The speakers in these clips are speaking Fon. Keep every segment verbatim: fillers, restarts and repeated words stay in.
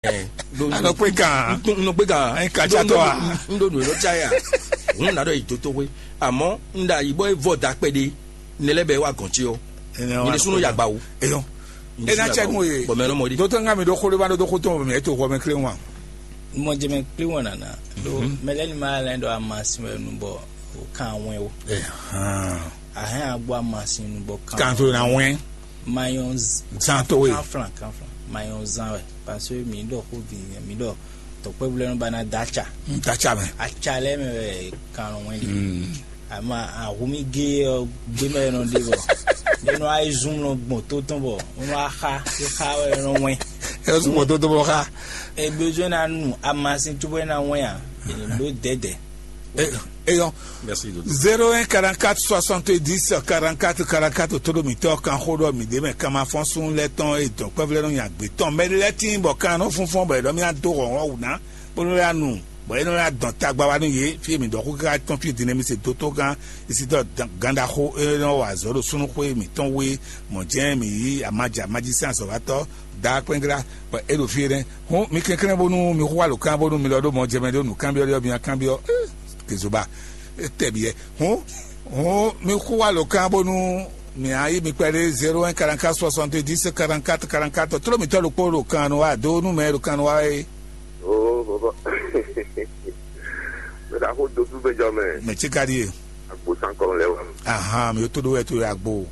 Ɛ, ɖo- Anɔ kpé kan. N- n- n- nɔ kpé kan. Ɛ, ka N- ca n- tɔ a? N- n- n- ɖo nǔ élɔ́ ca ya. Hun na ɖɔ yi dotoxwe. Àmọ́ n ɖa yi bɔ é vɔ da kpɛɖé. Ne lɛ́ bɛ wá gɔn ce ɔ́. Ɛnɛ Nyɛ wa ɖésúnú ɖo ya gba o. Eyɔn. Nyɛ ɖésúnú Ena ya cɛ gba nu o. Ye. Bɔn mɛ nɔ mɔ ɖi. Dotɔ ŋa mi ɖo xo ɖe ba ɖo do xo tɔn mɛ eto xɔ mɛ kle wa. Mɔ jɛ mɛ kpli wɔn nana. Ɖo mɛ lɛ ni ma lɛ ɖo amasin wɛ nu bɔ o kan wɛn o. Ɛhán. Ahɛn agbo amasin nu bɔ kan. Kan to na wɛn. Mayɔn z- Zan to we. Kan flan, kan flan. Mayɔn zan wɛ. Parce que mi ɖɔ xo vi mi ɖɔ tɔkpɛvlɛ nu ba na da aca. N ta ca mɛ. Aca lɛ mɛ wɛ kan nɔ wɛn ɖi. Mm. Ama ahumi ge ɔ gbe mɛ nɔ ɖe bɔ. Ne nɔ ayi zum nɔ gbɔn to tɔn bɔ. Nɔ axa, ixa wɛ nɔ wɛn. Ɛ sɔn gbɔn to tɔn bɔ xa. E besoin na nu amasin tu bɔ na wɛn a. E ɖo dɛdɛ. Eyɔn. Merci, docteur. Zéro un quarante-quatre soixante-dix quarante-quatre quarante-quatre, tó ɖo mǐtɔn kan xó ɖɔ mǐ ɖe mɛ kan ma fɔ́n sún lɛ́ tɔn e dɔn kpɛ́vlɛ́ nɔ nya gbě tɔn mɛ lɛ́ tíin bɔ kan nɔ fúnfún bɔ è ɖɔ mì adó hlɔ̌nhlɔ́n wǔ ná bónú é wá nu bɔ é nɔ wá dɔn tagba wá nú yě fí e mǐ ɖɔ xó káká tɔn fí din nɛ́ mǐ se dó tó gán isiɖɔ gánɖaxó e nɔ wa azɔ̌ ɖo súnnuxó e mǐtɔn wú é mɔ̌ jɛ́n mǐ yí amaja majísɛ́n azɔ̌watɔ́ dá kpɛ́nglá bɔ é ɖo fí é nɛ́. Hɔn mi kɛnklɛ́n bónú mi xó alǒkan bónú mi lɔ ɖó mɔ jɛ mɛ ɖó nǔkanbyɔ́ ɖé ɔ́ mi nǎ kanbyɔ́. Kezoba. Tɛbyɛ. Hɔn hɔn mi xó alǒkan bónú mi á yí mi kpɛɖé zéro un quarante-quatre soixante-dix quarante-quatre quarante-quatre. Tló mǐtɔn ɖokpó ɖo kan nu wá dó nú mɛ ɖo kan nu wá é. Oo bɔbɔ. Mɛ ɖaxó dó súgbɛjɔ mɛ. Mɛ tsi ka ɖíe. Agbo sankɔlɔ lɛ wa. Ahan mi tó ɖó wɛ tó yɛ agbo.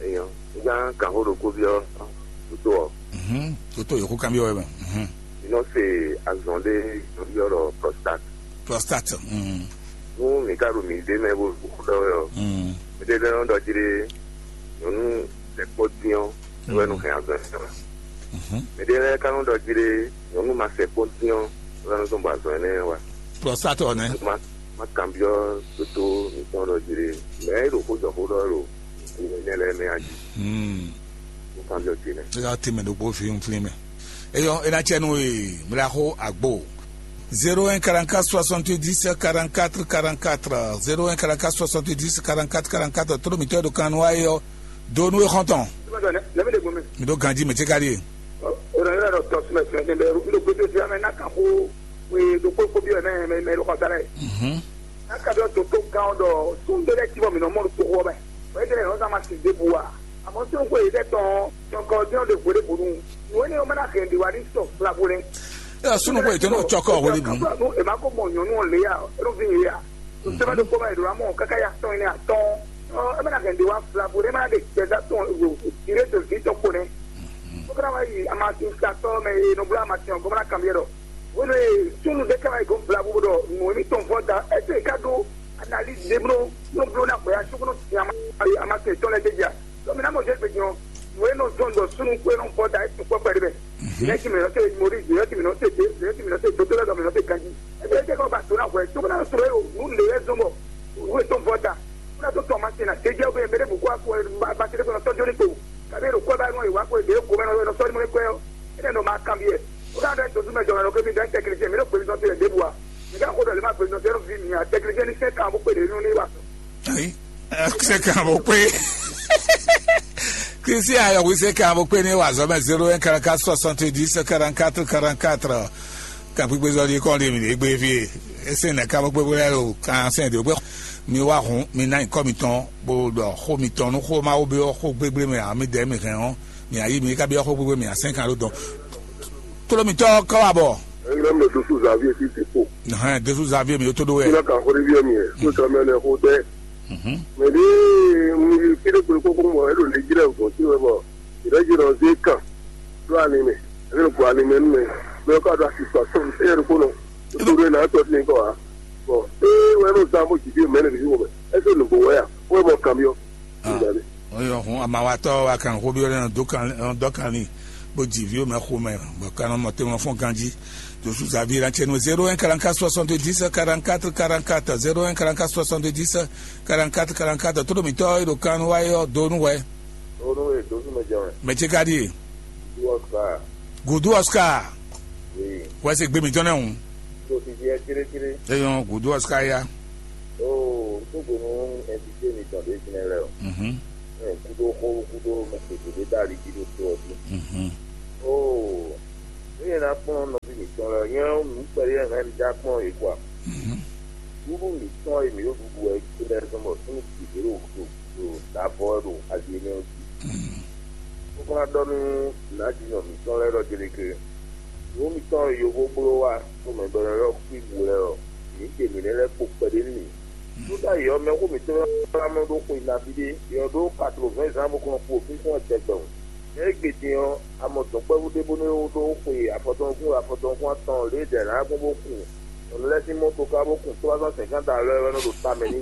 Eyɔn. Nígbà kan xó ɖokó byɔ́ tó tó ɔ. Mhm. Tó tó yòókù kan byɔ́ wɛ mɛ. Mhm. Inɔ se azɔn ɖé yɔyɔ ɖɔ prostate. Prostate. Mhm. Nú mi ka ɖo mi ɖé mɛ bó ɖɔ wɛ ɔ. Mhm. Mi ɖé lɛ nɔ ɖɔ jí ɖé nyɔnu sɛkpɔ dín ɔ wɛ nɔ hɛn azɔn ɛ wɛ. Mhm. Mi ɖé lɛ ka nɔ ɖɔ jí ɖé nyɔnu ma sɛkpɔ dín ɔ wɛ nɔ zɔn bɔ azɔn ɛ nɛ wɛ. Prostate ɔ nɛ. Ma ma kanbyɔ toto mitɔn ɖɔ jí ɖé mɛ e ɖo xó jɔ xó ɖɔ ɖo ne lɛ mɛ aji. Hmm. Mo kanbyɔ ce nɛ. Eya te mɛ ɖokpó fi nflin mɛ. Eyɔ ena cɛ nu e mla xó agbo. Zéro un quarante-quatre soixante-dix quarante-quatre quarante-quatre. Zéro un quarante-quatre soixante-dix quarante-quatre quarante-quatre. Toro mitɔ ɖo kan nu ayɔ. Do nu exɔntɔn. Lɛmi de gome. Mi ɖo ganji mɛ ce ka ɖie. O ɖo yɔrɔ dɔ tɔ sumɛ sumɛ ne bɛ mi ɖo gbete fi amɛ na kan xó. We ɖo kpokpo bi mɛ mɛ mɛ ɖo xɔsa lɛ. Mhm. Aka ɖɔ toto kan ɖɔ sun ɖe lɛ ti bɔ mi nɔ mɔ ɖo toxo mɛ. O ede lɛ nɔ zama si de bu wa. Amɔ sun ko yi ɖe tɔn tɔn kɔ diɔ de vo de bonu. Nu ene o mana hɛn de wa ni sɔ fla bo lɛ. Ɛ sunu ko yi tɔn cɔkɔ wele bu. Nu e ma ko mɔ nyɔnu le ya, e ɖo vi ye ya. Sɛbɛn ɖokpó mɛ e ɖo amɔ kaka ya tɔn ne atɔn. E mana hɛn de wa fla bo lɛ, e mana de gbɛza tɔn dire to vi tɔn ko nɛ. Ko kana wa yi amasin satɔ mɛ e nɔ bla amasin ɔ gɔmla kan biɛ dɔ. Wolo ye sunu ɖe kama yi gɔn bla bo ɖɔ nu mi tɔn vɔ da ɛsɛ ka ɖo analyse de blo no blo na gbɛ ya sukunu ti ama ama te tɔn lɛ de ja. Donc mi na mɔ jɛ gbe jɔ nu e nɔ zɔn dɔ sunu ko e nɔ vɔ da e tu kpɔkpɛ de bɛ. Yɛ ti mi nɔ se mori yɛ ti mi nɔ se de yɛ ti mi nɔ se dodo lɛ dɔ mi nɔ se ganji. Ebe e tɛ kɔ ba to na hwɛ to na sɔrɔ e o nu le yɛ zɔn bɔ nu e tɔn vɔ da. Kuna to tɔn ma se na te jɛ o bɛ mɛ de bu ko a ko ba ba te de ko na tɔjɔ ni to. Kabe ɖo kwɛ ba nɔ yi wa ko ɖe ko mɛ nɔ sɔli mɔ kwɛ ɔ. Ene nɔ ma kan biɛ. O ka ɖɔ to sumɛ jɔ nɔ ke mi dɛ tɛkilisi mi ɖo gbemi sɔn te ɖe bu wa. Mi ka ko ɖɔ le ma gbemi sɔn te ɖo vi mi a tɛkilisi ni sɛ kan bo kpe ɖe nu ni wa. Ayi. Sɛ kan bo kpe. Christian ayɔ wi sɛ kan bo kpe ni wa zɔ mɛ zéro un quarante-quatre soixante-dix quarante-quatre quarante-quatre. Kan kpikpe zɔ di kɔn di mi de gbe fie. Ese nɛ kan bo kpe bo lɛ lo kan sɛn de gbe. Mi wá hun mi ná nyǐkɔ mitɔn bó ɖɔ xó mitɔn nú xó Mawu byɔ́ xó gbégbé mɛ ǎ mi dɛ̌ mi hɛn ɔ́, mi ayí mi ka byɔ́ xó gbégbé mi ǎ sɛ́n kan ɖó dɔn. Tló mitɔn kɔ wá bɔ. Engra mɛ dosu Xavier ti ti po. Hɛn dosu Xavier mi tó ɖó wɛ. Ina ka xó ɖé byɔ́ mi ɛ, tó tɔ mɛ lɛ xó dɛ. Mɛ ɖé mi fi ɖé kpé kókó mɔ, e ɖo lě jí lɛ gɔn sí wɛ bɔ. Ìrẹ́jì nɔ zé kàn ló àní mɛ, ẹni kò àní mɛ nú mɛ, bẹ́ẹ̀ kọ́ àdó àti sọ àtúntò ẹ̀rù kó nọ. Ìtúrú ẹ̀ náà tọ́ sí nǹkan wá. Bọ̀ ee wẹ́n ló zan bó jìbí mẹ́rin ní wọ́n mẹ́, ẹ sọ nùgbò wẹ́yà, wọ́n mọ kàn mí ọ́. Oyɔ hun amawatɔ wa kan xó bi ɔlɛ dɔ kan dɔ kan ni bo dzi viwo mɛ xo mɛ bɔ kan mɔ te mɔ fɔn ganji. Josu Xavier la tiɛ nu zéro un quarante-quatre soixante-dix quarante-quatre quarante-quatre, zéro un quarante-quatre soixante-dix quarante-quatre quarante-quatre. Todo mitɔ e ɖo kan nu wa yɔ do nu wɛ. Onu e do nu mɛ jɛ wɛ. Mɛ ce ka ɖi e? Gudu Oscar. Gudu Oscar. Oui. Wɛ se gbe mitɔn nɛ o. Tó fi jɛ cérécéré. Eyɔn gudu Oscar ya. Oo n tó gbónú invité mi tɔn ɖé jìnnà lɛ o. Mhm. Ɛ kudo xó kudo mɛ kpekpe ɖé dali jí ɖó tó ɔdún. Mhm. Oo. Eye ná kplɔ́n nɔví mǐtɔn lɛ́ɛ, nyɛ ɔ́, nǔ kpɛɖé hɛn mi dá kplɔ́n yě kɔ a? Ɖuɖu mǐtɔn e mǐ ɖo ɖuɖu wɛ é lɛ́ɛ zɔn bɔ súnnu gěgé ɖo ɖo ɖo ɖo avɔ wɛ ɖo ayi énɛ́ ɔ́ jí. Bó ka ná ɖɔ nú nǎjínɔ mǐtɔn lɛ́ɛ ɖɔ Jeleke, nǔ mǐtɔn e yovó bló wá nú mɛ bɔ è nɔ ylɔ́ xwíwu lɛ́ɛ ɔ́, mǐ ɖe mǐ lɛ́ lɛ́ kpo kpɛɖé nú mǐ. Júda yě ɔ́, mɛxó mǐtɔn e wá mlɔ́ ɖó xwe nabí ɖé, yě ɔ́ ɖó katlovɛ̌n zán bó kɔn kpo fínfɔ́n tɛgbɛ wǔ. Mɛ e gbe din ɔ́, a mɔ dɔ̌nkpɛvú ɖé bónú é ɖó xwe afɔtɔn nukún afɔtɔn nukún atɔn lě e dɛ̌ ná gbɔn bó kun nyɔ̌nu lɛ́ɛ sín mɔto ká bó kun trois cent cinquante alɔ wɛ nɔ ɖo tamɛ n'i.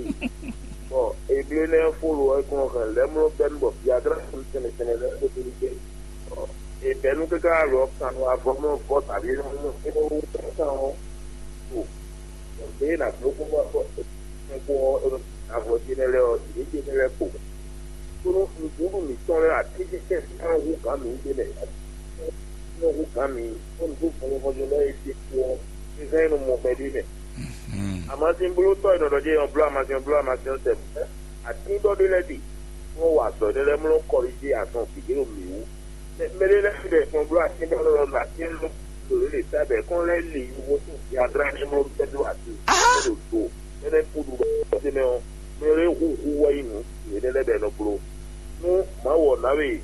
Bɔ Eblénɛ́ fó lo ɔ́, é kɔn hɛn lɛ̌mló bɛ́ nú bɔ Biaglá tɛnmɛ tɛnmɛ lɛ́ɛ kpódó nú gbé. Bɔ è bɛ̌ nú káká alɔ kan nú avɔ mlɔ́ vɔ tǎví nɔ nú é nɔ wú kan ɔ́. Ɖě e nǎ bló kpɔ́ bɔ é kpɔ́ ɔ́, é nɔ avɔ ce nɛ́ lɛ́ɛ ɔ́, yě ce nɛ́ lɛ́ɛ kpo. Kónú nǔɖuɖu mǐtɔn lɛ́ɛ atínsínsɛ́n nɔ hú gǎn mǐ ɖé mɛ, nɔ hú gǎn mǐ, kónú tó vɔnjɔvɔnjɔ lɛ́ɛ e ɖe kpo ɔ́, é hɛn nɔ mɔ mɛ ɖé mɛ. Amasinblótɔ́ e nɔ ɖɔ jɛ ɔ́ bló amasin ɔ́ bló amasin ɔ́ sɛ atíndɔ́ ɖé lɛ́ɛ ɖi, bó nɔ wa azɔ̌ énɛ́ lɛ́ɛ mlɔ́ kɔlíjé azɔn gěgé ɖo mǐ wú. Mɛ ɖé lɛ́ɛ ɖe kplɔ́n bló atín ɖɔ lɔ ɖo atín lɔ ɖo lě lě ta bɔ kɔn lɛ́ li yovó sín Biaglá ní mlɔ́ bɛ́ dó atín ɖo do énɛ́ kúɖu ɖɔ tɛ́nɛ́ ɔ́, mɛ ɖé hu hu wɛ nyí nǔ yěɖée lɛ́ɛ bɔ è nɔ bló. Nú Mawu ɔ́ ná we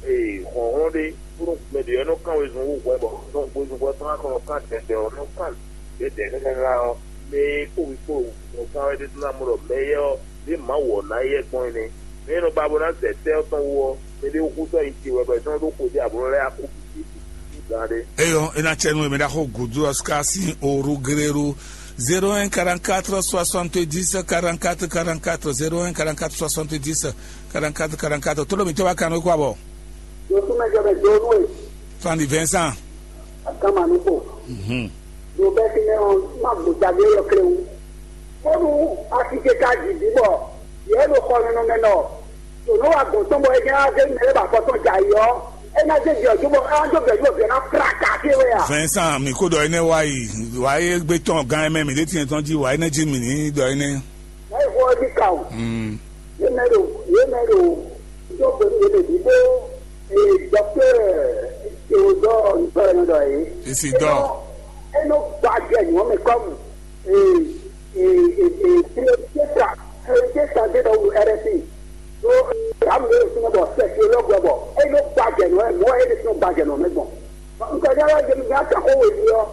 hlɔ̌nhlɔ́n ɖé bónú mɛ ɖě ɔ́ nɔ kán wezun hú hwɛ bɔ nɔ hwezun hwɛ tɔn ná kɔn nɔ kán dɛ̌dɛ̌ ɔ́ nɔ kán dɛ̌dɛ̌ káká ɔ́, mɛ e kpó wí kpó nɔ kán wɛ ɖésú ná mɔ ɖɔ mɛ éyɛ́ ɔ́, ɖě Mawu ɔ́ ná yɛ gbɔn é nɛ́. Mɛ e nɔ ba bó ná zɛ tɛ́ ɔ́ tɔn wú ɔ́, mɛ ɖé húzú ayi ce wɛ bɔ è sɔ́ ɖó xwe ɖé abo lɛ́ɛ yá kú bǐ gán ɖé. Eyɔ, ena cɛ nu emɛ ɖaxo gudu ɔska sin oru greru zéro un quarante quatre soixante dix quarante quatre quarante quatre zéro un quarante quatre soixante dix quarante quatre quarante quatre tolo mi tɔba kan ko abɔ. Yosuma jɔ bɛ do nu e. Fandi Vincent. Akama nu ko. Mhm. Do bɛ ti ne o ma gbota de yɔ kle wu. Kɔnu asike ka dzi bɔ yɛ ɖo xɔ nɔnɔmɛ nɔ. Tònú wa gɔn tɔn bɔ é nya zé mɛ ba kɔtɔn dza yi ɔ. É ná zé jɔ ju bɔ á jɔ bɛ ju bɛ ná pra ka fi wɛ a. Vincent, mi ko dɔ énɛ́ wá yi wá é gbé tɔn gán ɛmɛ mi ɖé tiɲɛ tɔn jí wá énɛ́ jí mi ní dɔ énɛ́. Wá yi xɔ ɔdí ka o. Mm. Yé mɛ ɖo yé mɛ ɖo yóò gbé yé mɛ bí bó. Ee dɔkítɛr Théodore Ntɔlɛnɔ dɔ yé. Isidore. Eno gba jɛ nyɔmɛ kɔmu. Ee, ee, ee, ee, priorité sa, priorité sa de dɔ wu R S I. So, amu de sunu bɔ sɛsiolɔgu bɔ, e nɔ gba jɛ nɔ, mɔ e de sunu gba jɛ nɔ mɛ gbɔn. Nka ja la jɛ mi ja ta ko we di ɔ.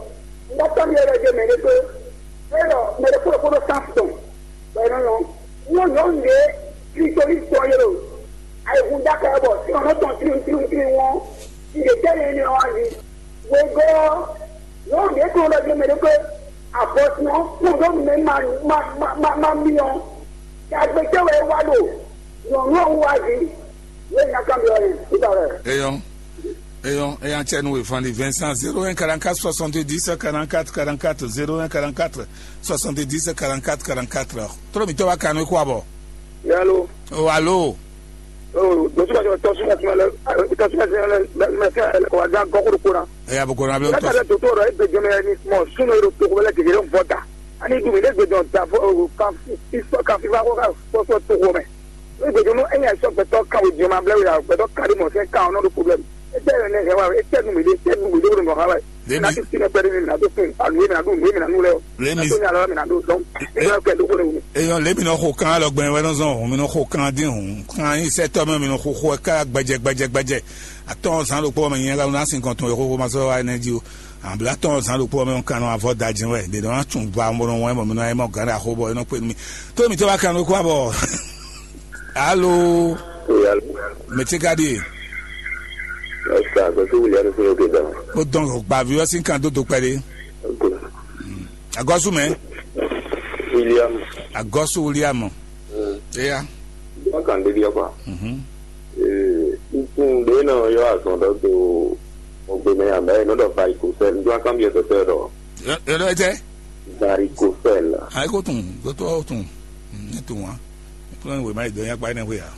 Nka tɔ mi yɛrɛ jɛ mɛ ne to. E dɔ mɛ de kuro kuro san tɔn. Bɛ nɔ nɔ. Nyɔ nyɔ nde, Kristo ni tɔ yɛrɛ o. Ayi hun da ka bɔ, si ɔnɔ tɔn tiri tiri tiri wɔn. Nde tɛ ne ne wa di. Wegɔ́ ɔ́, nyɔ̌nu ɖě kplɔ́n ɖɔ gbɛmɛ ɖé xwé afɔsínɔ kplɔ́n ɖó mɛ ma ma ma ma ma myɔ. Yagbe cɛ́ wɛ é wá ɖo nyɔ̌nu ɔ́ wú wá zi. Yě nya kanbyɔ́ ɛ nígbà wɛ. Eyɔn, eyɔn, eyan cɛ nu wefan di Vincent zéro un quarante quatre soixante dix quarante quatre quarante quatre zéro un quarante quatre soixante dix quarante quatre quarante quatre. Toro mi tɔba kanu kó abɔ. Yalo. O alo. Dɔsúmɛsɛ tɔsúmɛsɛ lɛ tɔsúmɛsɛ lɛ mɛsɛ ɛlɛkɔwada gɔkuru kura. Eya bɔ kɔnɔ abiyo tɔsí. Lɛ doto rɔ egbe jɔmɛ ni mɔ sunu ero togo lɛ gege lɛ vɔ da. Ani dumi ne gbe jɔn da fɔ ka fi ka fi va ko ka fɔsɔ togo mɛ. Ne gbe jɔn no enya sɔ gbɛtɔ ka wo jɔn ma blɛ wo ya gbɛtɔ ka di mɔ sɛ ka ɔnɔ do problème. Etɛ ne hɛ wa etɛ nu mi de etɛ nu mi de wo nɔ ha wa. Lemi. Na tu sinɛ pɛrɛ mi na do fun alu mi na do nu mi na nu lɛ o. Lemi. Na to nya lɔ mi na do dɔn. E ba kɛ do ko le wu. Eyɔn lemi nɔ xo kan alɔ gbɛn wɛ nɔ zɔn hun mi nɔ xo kan din hun kan yi sɛ tɔ mɛ mi nɔ xo xo ɛ ká gbɛjɛ gbɛjɛ gbɛjɛ. Atɔn zan ɖokpɔ mɛ nyɛ la na sin kɔntɔn yɛ xo ma sɔ wa ne ji o. Abla tɔn zan ɖokpɔ mɛ kan nɔ avɔ da jin wɛ de dɔn atun ba mo nɔ wɛ mo mi nɔ ayɛ mɔ gan da xo bɔ e nɔ kpe mi. To mi to ba kan ko abɔ. Alo. Mɛ tse ka ɖi. Ɛsɛ agbɛsɛ wuli ɛni fún yóò dán. Ó dɔn gbavi ɔ́ sín kan dó dó kpɛɖé. Agɔ́sù mɛ. William. Agɔ́sù William. Eya. Bákan débi ɔkpa. Mhm. Nkun ɖé nɔ yɔ azɔn dɔ do ogbe mɛ amɛ nɔ dɔ varicocèle ndo akan bi ɛsɛ dɔ. Yɔrɔ ɛjɛ. Varicocèle. Ayi ko tun dɔtɔ tun ne tun wa. Kúlọ̀ ní wèé má yi dɔn yá kpa énɛ́ xwé a.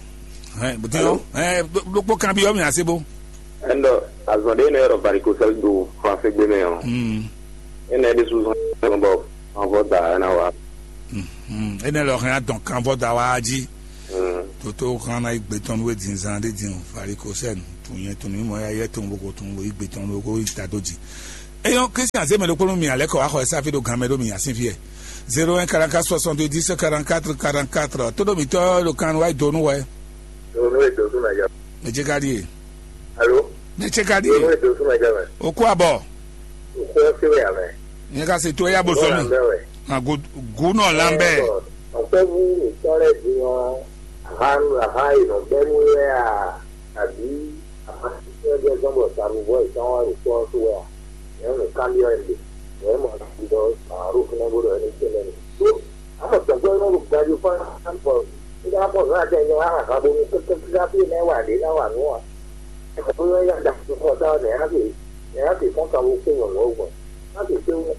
Hɛn bùtí yɔ hɛn ɖokpó kan bí yɔ mi ase bó. Ɛnɔ azɔn ɖé nɛ yɔrɔ varicocèle do français gbé mɛ ɔ. Hmm. Ɛnɛ ɖé suzɔn bɔ anvɔ da ɛna wa. Hmm. Ɛnɛ lɔ hɛn adɔn kanvɔ da wa jí. Hmm. Toto kan na yi gbé tɔn nú wé din zan ɖé din varicocèle. Nyɛ tun ní mɔ ya yɛ tun boko tun bo igbe tɔn boko yi ta dó dzi. Eyɔn Christian zé mɛ ɖokpó nú mi alɛ kɔ axɔ ɛsɛ afi ɖo gan mɛ ɖó mi asin fiɛ. Zéro un quarante-quatre soixante-dix quarante-quatre quarante-quatre. Tó ɖo mi tɔ ɖo kan wa do nú wɛ. Ɖo nú èdò súnmọ́ ẹ̀jẹ̀. Mɛ ce ka ɖi e. Alo. Mɛ ce ka ɖi Ɖo nú e. Èdò súnmọ́ ẹ̀jẹ̀ mẹ́. O kú abɔ. Òkú ọ́ sí wẹ̀ àmẹ́. Nyɛ ka se to ya bo sɔ mi. Bẹ́ẹ̀ wẹ̀. Gu nɔ lan bɛ. Ọ̀pẹ́bù ìtọ́lẹ̀ di wọn àhánú àhá ìnàgbẹ́nu rẹ̀ à àbí àhá tí wọ́n jẹ́ sọ́nbọ̀ sàrúbọ̀ ìtàn wọn rò pọ́ tó wẹ̀ à. Ìyẹn nìkan bí ọ̀ ẹ̀ lè. Ìyẹn mọ̀ àti lọ àárò fún ẹgbẹ́ rẹ̀ ní tẹ́lẹ̀ ní. Tó àmọ̀ tẹ̀gbẹ́ náà ló ga ju fún àpọ̀ nígbà pọ̀ náà jẹ́ ìyẹn wà á kà bó ní kékeré bí ẹ̀ náà wà dé náà wà nù wà. Ẹ̀kọ́ tó yọ yá dà fún ọ̀tá ọ̀nà ẹ̀ á sì ẹ̀ á sì fún kàwé pé yọ̀nà ọ̀gbọ̀n. Á sì pé wọ́n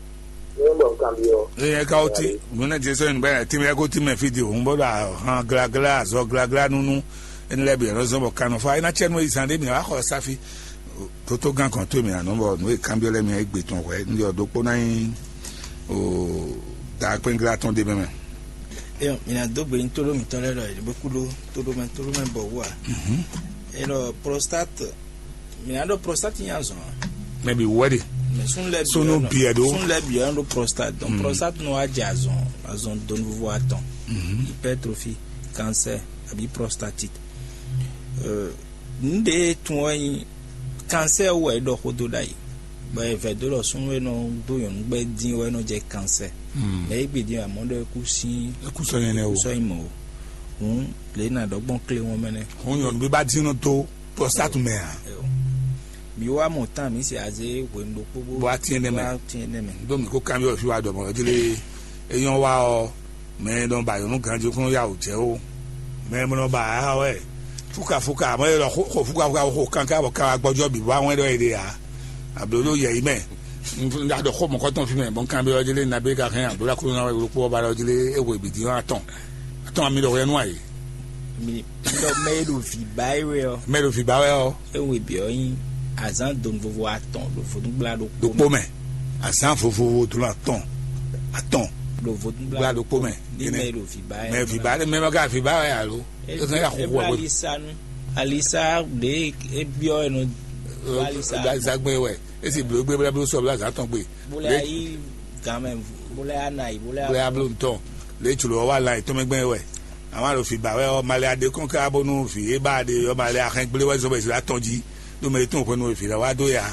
ní bọ̀ nǹkan bí ọ. Eye ka wo ti muna Jesu yin bɛ ti mɛ ko ti mɛ fi di o n bɔ do ahan glagla azɔ glagla nunu ene lɛ bi ɛnɔ zɔn bɔ kanɔ fa ena tsɛ nu yi zan de mi wa xɔ safi. Toto gan kɔn to mi anɔ bɔ nu e kan bi lɛ mi egbe tɔn hwɛ n yɔ dokpo na yin o da kpɛngla tɔn de mɛ mɛ. Eyɔn, mina do gbe nyi tóɖó mitɔn lɛ ɖɔ yɛ bó kú ɖó tóɖó mɛ tóɖó mɛ bɔ wú a. Eyɔn prostate, mina ɖɔ prostate nya zɔn a. Mɛ bi wɛ de. Mɛ sun lɛ sunu biɛ do. Sun lɛ biɛ do prostate. Donc prostate nɔ wa jɛ azɔn azɔn donvuvu atɔn. Hypertrophie, cancer, abi prostatite. Euh, nu ɖe tun wɛ nyi cancer wɛ ɖɔ xó dó ɖ'ayǐ. Bɔ è vɛ dó ɖɔ súnnu e nɔ dó nyɔ̌nu gbɛ́ dín wɛ nɔ jɛ cancer. Mɛ é gbe dín amɔ̌ ɖɔ é kú sín Ékú sɔ nyɛ nɛ o. Sɔ nyi mɔ o. Hǔn lě nà ɖɔ gbɔn klé wọn mɛ nɛ. Hǔn nyɔ̌nu bí bá dín nɔ dó prostate mɛ a? Mi wá mɔ tán mi se azé hwenu ɖokpó bó Bó wá tiɛn nɛmɛ. Wá tiɛn nɛmɛ. Ɖó mi kó kanbyɔ́ fí wá ɖɔ mɔ̌ jlé é nyɔ́ wá ɔ́, mɛ e nɔ ba nyɔ̌nu ganjí kún yá wǔ jɛ ó. Mɛ e nɔ ba ǎ wɛ fúkafúka, mɛ e nɔ xo fúkafúka xo kanká bɔ ka wá gbɔjɔ́ bǐ bó wá wɛn ɖɔ è ɖe ǎ. Ablǒɖó yɛ̌yi mɛ. Un ɖo xó mɔ̌kɔtɔn fí mɛ, bɔ un kanbyɔ́ ɔ́ jlé nabí ka hɛn ablǒɖó Aklúnɔ ɔ́ ɖokpó ɔ́ ba ɖɔ jlé é hwe bǐ dín atɔn. Atɔn ami ɖɔ hwɛ nú ayǐ. Mi ɖɔ mɛ e ɖo vǐ ba é wɛ ɔ́. Mɛ e ɖo vǐ ba wɛ ɔ́. É wɛ bǐ ɔ́ nyí azǎn donu vovo atɔn ɖo vodúngbla ɖokpó Ɖokpó mɛ. Azǎn vovovo donu atɔn. Atɔn. Ɖo vodúngbla Gbla ɖokpó mɛ. Ní mɛ e ɖo vǐ ba é. Mɛ vǐ ba mɛ ma ka vǐ ba wɛ alo. É kan ya xɔxɔ wɛ. Alisa nu. Alisa ɖe é biɔ ɛ nɔ. Alisa. Alisa gbɛ wɛ. Esi blo gbɛ bla blo sɔ bla azǎn tɔn gbɛ. Bó lɛ yí gan mɛ, bó lɛ yá na yi, bó lɛ yá. Bla blo ntɔn. Le tsulo wa la itɔn mɛ gbɛ wɛ. Àwọn àlòfin bá wɛ ọ malẹ adé kɔn ká bónú fi é bá adé ọ malẹ ahẹn gblé wɛ zɔbẹ ìṣẹ̀lẹ̀ atɔn jí. Ló mẹ tó nǹkan nù fi la wá dó ya.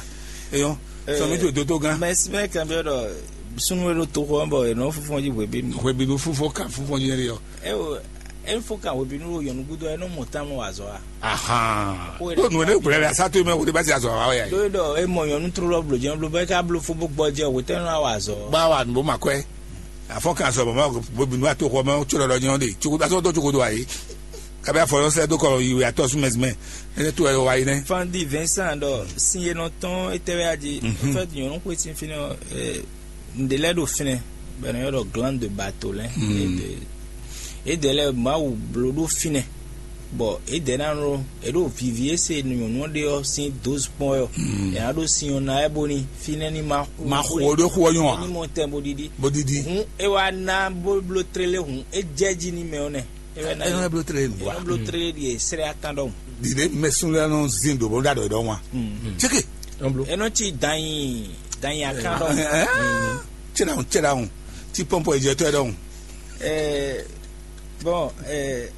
Eyɔn. Sọ mi tó dótó gán. Mɛ simɛ kan bɛ dɔ sunu wɛ ɖo to xɔ bɔ enɔ fufɔn ji hwebinu. Hwebinu fufɔ kan fufɔn ji ne yɔ. Ewo, e fo kan hwebinu wo yɔnu gudo enɔ mɔ tán mɔ azɔ a. Ahan. Ko nu ne gblɛ la sa to mɛ wo de ba ti azɔ wa ya. Do dɔ e mɔ yɔnu tró lɔ blo jɛn blo bɛ ka blo fo bó gbɔ jɛ o tɛ nɔ wa azɔ. Ba wa nu bó ma kɔɛ. Afɔ kan sɔ bɔ ma bo binu ato xɔ ma tso lɔ jɛn de tso da sɔ do tso do ayi. Kabi afɔ lɔ sɛ do kɔ yi we atɔ sumɛ sumɛ. Ene to ɛ wa yi nɛ. Fandi Vincent dɔ sin ye nɔ tɔn etɛ wɛ adi. En fait nyɔnu ko sin fini eh, nde lɛ do fini. Bɛ nɔ yɔ dɔ gland de bato lɛ. Ede lɛ mawu blo do fini. Bɔ ede na nɔ eɖo vivi ese nyɔnu ɖe ɔ sin dose kpɔn yɔ. Ena ɖo sin ɔ na ɛ boni finɛ ni ma xo. Ma xo ɖo xo ɔ nyɔ a? Ni mɔ tɛn bo ɖiɖi. Bo ɖiɖi. Hun e wa na bo blo trele hun e jɛ ji ni mɛ ɔ nɛ. E wɛ na Ɛnɔ ye. Eblo tere nu wa. Eblo tere ɖi esrɛ atán ɖɔhun. Ɖiɖe mɛ sun lɛ nɔ zin do bɔ ɖa ɖɔ ɖɔ wa. Tseke. Enɔ tsi danyi danyi atán ɖɔhun. Tsela hun tsela hun. Ti pɔnpɔ ìjẹtɔ ɛ ɖɔhun. Ɛɛ, bɔn ɛɛ,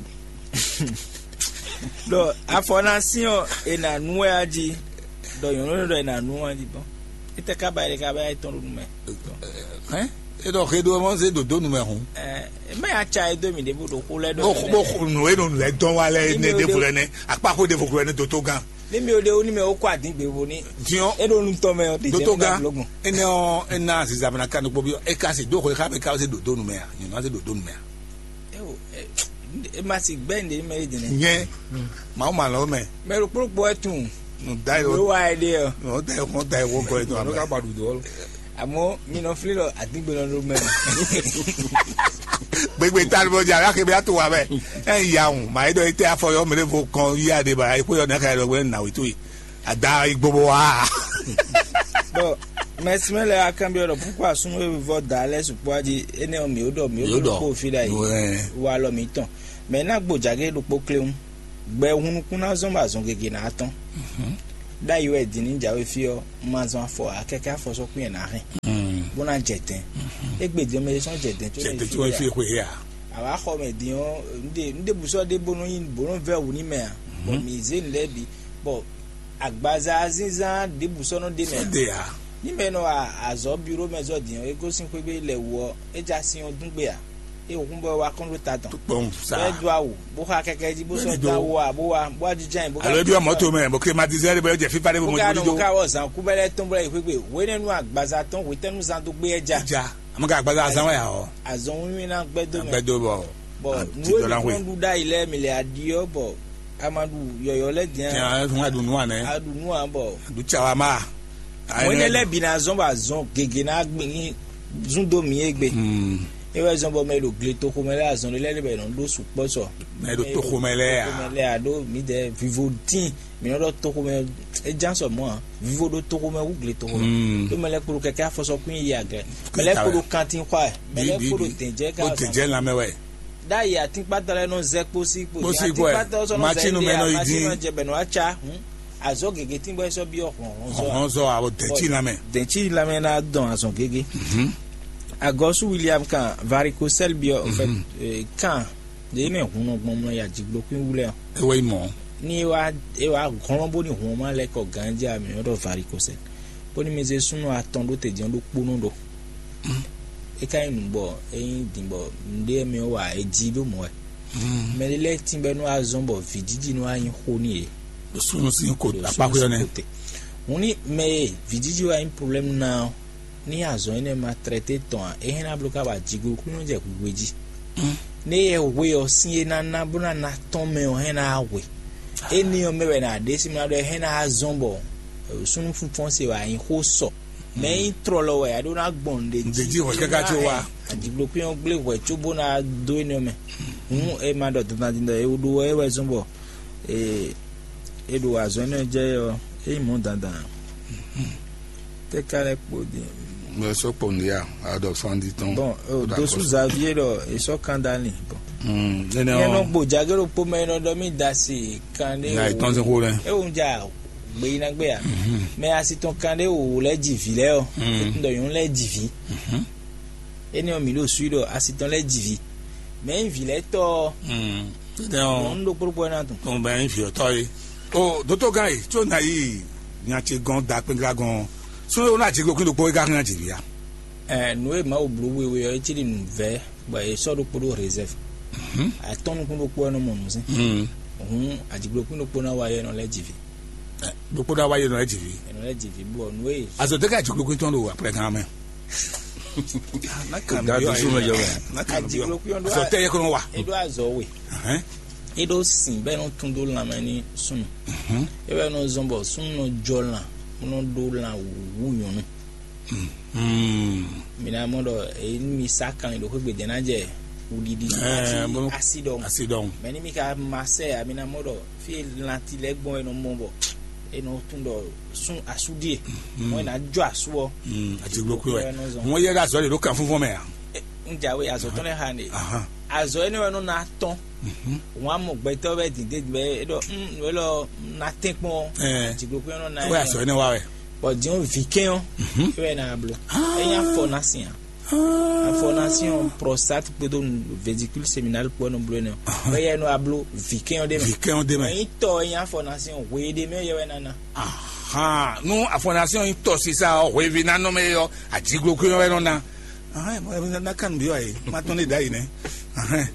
ɖɔ afɔ na sin ɔ ena nu wɛ aji. Ɖɔ nyɔnu ɖɔ ena nu aji bɔn. Ete kaba ete kaba etɔn ɖo nu mɛ. Hɛn? E ɖɔ xe ɖo mɔ se ɖo do nu mɛ hun. Ɛɛ, mɛ ya tsa edo mi ɖe bo ɖo xo lɛ ɖo. Bo xo nu e ɖo nu lɛ dɔn wa lɛ ne ɖevo lɛ ne akpa xo ɖevo lɛ ne doto gan. Ni mi o ɖe o ni mɛ o kɔ adin gbe vo ni. Tiɲɔ. E ɖo nu tɔn mɛ o. Doto gan. Ene ɔ ena ziza mɛ na kan ɖokpo bi e ka se do xo e xa mɛ ka se ɖo do nu mɛ a nyɔnu se ɖo do nu mɛ a. Ewo, e ma si gbɛ nde mɛ e dine. Nyɛ mawu ma lɔ mɛ. Mɛ ɖokpo ɖokpo wɛ tun. Nu da yi Lo o. Wa e ɖe ɔ. Nu da yi o da yi o gɔ yi to Lo amɛ. Ka ba ɖu dɔ. Àmọ́ mi nɔ flí lɔ àdígbélɔ ló mɛ. Gbegbe ta ló jà lákè bí a tó wà bẹ́ẹ̀. Ẹ ń ya òun màá yí dọ̀ yí tẹ́ afọyọ́ mi lé fo kan yí adé bàrà yí kó yọ ní aka yọ gbé nà wí tó yìí. Àdá igbó bó wá. Bɔn mɛsimɛ lɛ akanbiɔ dɔ pukua sunu e vɔ da lɛ sukpɔ adi ene ɔ mi o dɔ mi o dɔ kpo fi da yi. Wa lɔ mi tɔn mɛ na gbo jage ɖokpo kleun. Gbɛ hun nukún ná zɔ́n bɔ azɔn gěgé ná tɔ́n. Ɖ'ayǐ wɛ din ní jǎwe fí ɔ́, un ma zɔn afɔ ǎ, kɛkɛ́ afɔsɔ́kún yɛ ná hɛn, bó ná jɛ dɛ̌n. Égbé din ɔ́, mɛ ɖé sɔ́ jɛ dɛ̌n có Jɛ nɔ te yi fí có wɛ ǎ. Fí xwe ǎ. Àwa xɔ mɛ din ɔ́, un ɖe un ɖe bǔ sɔ́ ɖé bó nɔ nyi bó nɔ vɛ́ wǔ ní mɛ ǎ. Bɔ mǐ zé nǔ lɛ́ɛ bǐ, bɔ agbaza zínzán ɖěbǔ sɔ́ nɔ ɖe mɛ ǎ. Sɔ́ ɖe ǎ. Ní mɛ nɔ wa azɔ̌ biro mɛ zɔ́ din ɔ́, é gosín xwé gbe lɛ wǔ ɔ́, é já sin ɔ́ dún gbe ǎ. É hǔn bɔ é wá kɔn ɖó ta tɔn. Kpɔn sa. Bɔ é dó awu, bó xa kɛkɛ jí bó sɔ́ dó awu ǎ, bó wá bó wá jínjɔ́n ayǐ bó ká Alo é byɔ́ mɔ̌to mɛ, bó ké ma dizɛ́ ɖé bɔ é jɛ fífá ɖé bó bó mɔ ká nɔ dídó. Bó ká wɔ zǎn kú bɛ́ lɛ́ɛ tɔn bó lɛ́ yi xwé gbe. Hwenɛ́nu agbaza tɔn hwetɛ́nu zán dó gbé ɛ já. Ja, a ma ka agbaza azán wɛ ǎ ɔ́. Azɔn wínwín ná gbɛ́ dó mɛ. Gbɛ́ dó bɔ. Bɔ a nǔ ti e dɔ ná mǐ hwe. Kɔn ɖu ɖ'ayǐ lɛ́ɛ mì lɛ aɖi ɔ́ bɔ a ma ɖu yɔyɔ̌ lɛ́ɛ din Tiɲɛ a. Ɛ fún wa ɖu nú wa nɛ́. A ɖu nǔ ǎ bɔ. Ɖu tsa wa ma. Mɔ̌ énɛ́ lɛ́ɛ bǐ ná zɔ́n bɔ azɔn gěgé ná gbin zún dó mǐ égbé. Hmm. É wɛ zɔ́n bɔ mɛ e ɖo gletoxo mɛ lɛ́ɛ azɔn ɖé lɛ́ɛ ɖé bɔ è nɔ ɖó sukpɔ́ sɔ. Mɛ e ɖo toxo mɛ lɛ́ɛ a? Toxo mɛ lɛ́ɛ a ɖó mǐdɛɛ vivo tíin mǐ nɔ ɖɔ toxo mɛ é ján sɔ mɔ̌ ǎ. Vivo ɖó toxo mɛ wú gletoxo mɛ. Hmm. Ɖó mɛ lɛ́ɛ kpo ɖo kɛkɛ́ afɔsɔkún yi agɛ. Mɛ lɛ́ɛ kpo ɖo kantin xɔ ɛ. Mɛ lɛ́ɛ kpo ɖo dɛ̌njɛ ká Ó azɔn. Dɛ̌njɛ lanmɛ wɛ. Ɖ'ayǐ atínkpátɔ́ lɛ́ɛ nɔ zɛ kpósí kpó. Kpósí kpó ɛ. Atínkpátɔ́ sɔ́ nɔ zɛ Macinu mɛ nɔ yi dín. Jɛ bɛ nɔ wá cá. Azɔ̌ gěgé tíngbɔ é sɔ́ byɔ́ hlɔ̌nhlɔ́n zɔ. Hlɔ̌nhlɔ́n zɔ a, bɔ dɛ̌ncí lanmɛ. Dɛ̌ncí lanmɛ ná dɔn azɔ̌ gěgé. Agɔsú William kan varicocèle byɔ́ en fait, kan ɖě mɛ hun nɔ gbɔn mlɔ ya jigblokún wú lɛ́ɛ ɔ́. É wɛ nyí mɔ̌. Ní é wá é wá hlɔ́n bónú hun ɔ́ má lɛ́ kɔ ganjí a mǐ nɔ ɖɔ varicocèle. Bónú mi zé súnnu atɔn ɖó te jɛ́n ɖokpónɔ ɖó. É ka nyí nǔ bɔ é nyí din bɔ nǔɖé mɛ ɔ́ wa é jí ɖó mɔ̌ wɛ. Mɛ ɖé lɛ́ɛ tínbɛ́ nú wá zɔ́n bɔ vǐjiji nú wá nyí xó n'i é. Ɖo súnnu sín ko Ɖo akpáxwé ɔ́ nɛ́. Súnnu sín ko te. Hǔn ní mɛ e vǐjiji wá nyí problɛ́mu ná ɔ́, ní azɔ̌ énɛ́ ma tlɛ́té tɔn ǎ, é hɛn ná bló ká ba jiglo kú nɔ jɛ hwihwe jí. Ní é yɛ hwe ɔ́ sín é ná ná bó ná ná tɔ́n mɛ ɔ́ hɛn ná hwe. Énɛ́ ɔ́ mɛ wɛ ná ɖe sí mla ɖɔ é hɛn ná zɔ́n bɔ súnnu fúnfɔ́n se wɛ a nyí xó sɔ. Mɛ nyí tlɔlɔ wɛ a ɖó ná gbɔn nǔɖé Nǔɖé jí hwɛ káká có wá. Ajigblo kpín ɔ́ gblé hwɛ cóbó ná dó énɛ́ mɛ. Hǔn é ma ɖɔ dandan din ɖɔ é ɖó é wɛ zɔ́n bɔ é é ɖo azɔ̌ énɛ́ jɛ ɔ́, é nyí mɔ̌ dandan. Tɛ ka lɛ kpo din. Mɛ sɔ kpɔ nìyà, a ɖɔ fandi tɔn. Bon, o dosu Xavier ɖɔ e sɔ kan dali. Bon. Hmm, nene Nyɛ nɔ o. Gbo jage ɖokpó mɛ nɔ ɖɔ mí da si kan ɖé. Na etɔn se xo lɛ. E wo ja gbe yi na gbe ya. Mɛ asi tɔn kan ɖé wo lɛ ji vi lɛ ɔ. Hmm. E tun ɖɔ yɔn lɛ ji vi. Mhm. Ene ɔ mi ɖo sui ɖɔ asi tɔn lɛ ji vi. Mɛ yi vi lɛ tɔ. Hmm. Tete o. Nyɔnu ɖokpó ɖokpó na tun. Tɔn bɛ yi vi ɔtɔ ye. O doto gan yi tso na yi nya ce gɔn da kpɛngra gɔn. Sɔn o na jiglo kí ɖokpó yi ka kan ji vi ya. Ɛ nu e Mawu blu wewe ɔ etsi ɖi nu vɛ bɔ e sɔ ɖokpó ɖo réserve. Atɔn nukún ɖokpó ɛnɔ mɔ nu sɛn. Hun ajigblo kún ɖokpó na wa yɛ nɔ lɛ jivi. Ɖokpó na wa yɛ nɔ lɛ jivi. Ɛnɔ lɛ jivi bɔ nu e. Azɔ de ka jigblo kún tɔn ɖo akplɛ gan mɛ. Ga do su mɛ jɔ mɛ. Ajigblo kún ɖo. Azɔ tɛ yɛ kɔnɔ wa. Eɖo azɔ we. Eɖo sin bɛ nɔ tun ɖo lanmɛ ni sunu. Ewɛ nɔ zɔn bɔ sunu nɔ jɔ lan, nɔ ɖo lan wu nyɔnu. Mi na mɔ ɖɔ eyi mi sa kan ɖo xwegbe dɛn na jɛ wuɖiɖi asi ɖɔŋ. Asi ɖɔŋ. Mɛ ni mi ka ma sɛ a mi na mɔ ɖɔ fi lanti lɛ gbɔn e nɔ mɔ bɔ e nɔ tun ɖɔ sun asu die. Mɔ e na jɔ asu ɔ. Ajigblo kú wɛ. Mɔ yɛ ɖe azɔ de ɖo kan fúnfún mɛ a. N jawe azɔ tɔn lɛ ha ne. Azɔ ene wɛ nɔ na tɔn. Wọn amɔ gbɛtɔ bɛ dinde bɛ e ɖɔ nu elɔ na tɛn kpɔn. Ajigblo kú yɛ nɔ na. Wɛ azɔ ene wa wɛ. Bɔn diɲɔ vikɛn ɔ ewɛ na blo. Eya fɔ na sian. Afɔ na sian prostate kpodo vesicule seminale kpɔ nɔ blo ne. Wɛ yɛ nɔ ablo vikɛn ɔ de mɛ. Vikɛn ɔ de mɛ. Eyi tɔ eya fɔ na sian hwe de mɛ yɛ wɛ nana. Ahan nu afɔ na sian yi tɔ sisa ɔ hwevi na nɔ mɛ yɔ ajigblo kú yɔ wɛ nɔ na. Ahɛn mo yɛ na kan bi wa yi ma tɔn ne da yi nɛ. Ahɛn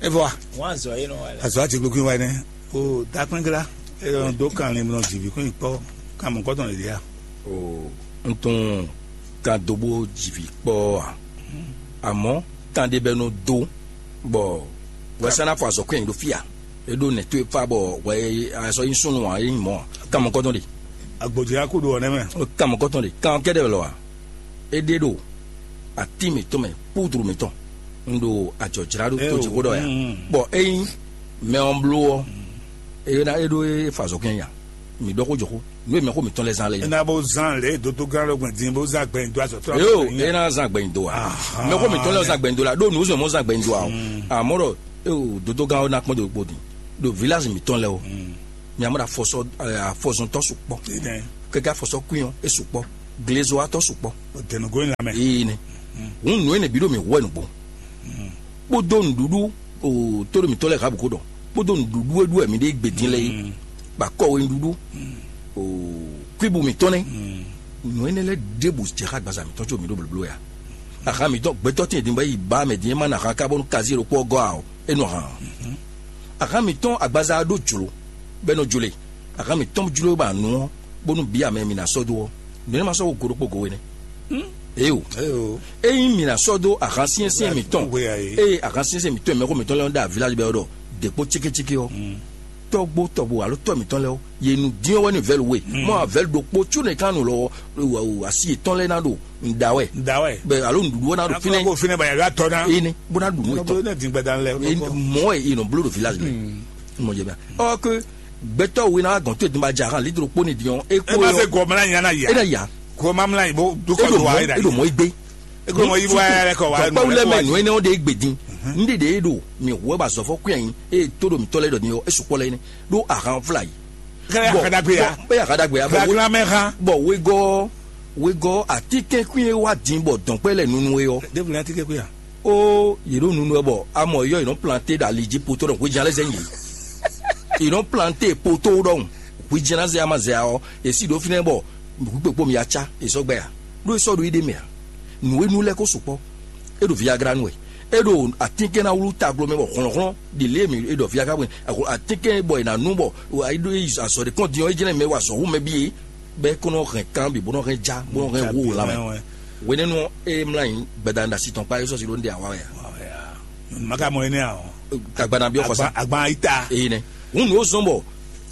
e vɔ wa. Wọn azɔ yi nɔ wa lɛ. Azɔ ajigblo kú yɔ wa yi nɛ. O dakpɛngla e yɔ do kan le mlɔ jivi kún yi kpɔ kan mɔ kɔtɔn le dia. O n tún kan do bó jivi kpɔ a. Àmọ́ kan de bɛ nɔ do bɔ wɛsana fɔ azɔ kún yi ɖo fia. E ɖo nɛ to e fa bɔ wɛ azɔ yi sunu a yi mɔ kan mɔ kɔtɔn de. Agbodza kó do ɔnɛ mɛ. Kan mɔ kɔtɔn de kan kɛdɛ lɔ wa. E ɖe ɖo ati mǐtɔn mɛ kpúdru mǐtɔn. Un ɖo ajɔ̌jláɖó tó jǐxó ɖɔ ya. Bɔ ényí mɛ ɔ́ bló ɔ́, é ná é ɖó é fa azɔ̌ kɛn ya. Mǐ ɖɔ xó jǒxó. Nǔ e mɛ xó mǐtɔn lɛ́ɛ zán lɛ́ɛ. É ná bó zán lě e dodógán lɔ gbɔn din bó zán gbɛ̀yìn dó azɔ̌ tɔn. Yo, é ná zán gbɛ̀yìn dó a. Mɛ xó mǐtɔn lɛ́ɛ zán gbɛ̀yìn dó la ɖó nǔ zɔn mɔ zán gbɛ̀yìn dó a o. Àmọ́ ɖɔ é o dodógán ɔ́ ná kpɔ́n dó kpó din. ɖo village mǐtɔn lɛ́ɛ o. Mi amɔ ɖo afɔsɔ afɔzɔntɔ sukpɔ. Kɛkɛ afɔsɔ kuyɔn e sukpɔ. Glezowatɔ sukpɔ. Dɛnugó yin lamɛ. Ee ne. Hun nǔ ene bǐ ɖo mǐ hu wɛ nǔgbó. Kpódó nǔɖuɖu o tóɖo mǐtɔn lɛ́ɛ ha bǔ ko ɖɔ. Kpódó nǔɖuɖu e ɖu wɛ mǐ ɖe gbedin lɛ́ɛ é. Ba kɔwe nǔɖuɖu o kúibu mǐtɔn nɛ́. Nǔ énɛ́ lɛ́ɛ ɖěbǔ jɛ xá agbaza mǐtɔn có mǐ ɖo blǒbló ya. Ahan mǐtɔn gbɛtɔ́ tíin din bɔ é yi ba mɛ din é ma nɔ ahan ká bónú kazí ɖokpó ɔ́ gɔ́ ǎ ɔ́, é nɔ ahan ǎ. Ahan mǐtɔn agbaza ɔ́ ɖó jlǒ, bɔ é nɔ jló e. Ahan mǐtɔn jló bɔ anu ɔ́, bónú bǐ amɛ mi ná sɔ́ dó ɔ́, nǔ énɛ́ ma sɔ́ wo go ɖokpó go énɛ́. Éyo. Ényí mi ná sɔ́ dó ahan syɛ́nsyɛ́n mǐtɔn, eye ahan syɛ́nsyɛ́n mǐtɔn e mɛxó mǐtɔn lɛ́ɛ nɔ ɖo avilá bɛ ɔ́ ɖɔ dě kpó cékécéké ɔ́, tɔ́gbó tɔ́gbó alo tɔ́ mǐtɔn lɛ́ɛ ɔ́, yě nu dín ɔ́ wɛ ní vɛ̌lu we. Mɔ avɛ̌lu ɖokpó cúnɔ e ka nɔ lɔ asi yětɔn lɛ́ɛ ná ɖo nǔɖa wɛ. Nda wɛ. Bɛ alo nǔɖuɖu ɔ́ ná ɖo Akɔlɔ fínɛ́. Ko fínɛ́ bɔ yàrá tɔ ná. Ene bó ná ɖu nú Nɔ etɔn. Bó ne dín gbɛdá lɛ. Mɔ ɛ yi nɔ bló ɖo village mɛ. Mɔ jɛ bia. Ɔ ke gbɛtɔ wo ná gɔn tó edun ba ja hàn lidro kpó ni diɔn. E E ko ma se yɔ. Gɔmla nya na ya. E na ya. Gɔmla mla yi bo dukɔ Eɖo do wa mɔ e da. Eɖo mɔ egbe. E ko mɔ yi wa yɛrɛ kɔ wa. Tɔkpawu lɛ mɛ nɔ ene ɔn de egbe din. N de de e ɖo mi hu ɛ ba zɔfɔ kú yɛn. E to ɖo mi tɔ lɛ ɖɔ ni yɔ e sukpɔ lɛ ne. Ɖo ahan fla yi. Kɛlɛ akadagbe ya. Bɛ akadagbe ya. Bɛ Flagrant mɛ ha. Bɔ wegɔ wegɔ atikɛnkwin e wa din bɔ dɔnkpɛ lɛ nunu e ɔ. Ɖevu lɛ atikɛnkwin ya. O yě ɖo nunu wɛ bɔ amɔ yɔ yě nɔ plante ɖo ali jí poto ɖɔ hwejan lɛ zɛ nyi. Yě nɔ plante poto ɖɔhun hwejan na zɛ ama zɛ ɔ èsì ɖo fínɛ bɔ hwikpekpo mi atsa èsɔ gbɛ ya. Ɖó esɔ ɖo yi ɖe mɛ a. Nǔ e nu lɛ ko sukpɔ. E ɖo viagra nu wɛ. E ɖo atinkɛn na wlú taglo mɛ bɔ hlɔnhlɔn ɖi lě mi e ɖɔ viagra wɛ. Atinkɛn bɔ è nǎ nu bɔ azɔ ɖe kɔn din ɔ́ é jɛnɛ mɛ wa azɔ hu mɛ bíe. Bɛ é kó nɔ hɛn kan bǐ bó nɔ hɛn já bó nɔ hɛn wó lanmɛ. Wɛnɛnu ɔ́, ée mlá nyi gbɛdanɖasi tɔn kpá é sɔ́si ɖó ndé awa wɛ a? Maka mɔ énɛ́ ǎ ɔ́. Agbana byɔ́ xɔsá. Agban ayita. Eyi nɛ. Hun nǔ ó zɔ́n bɔ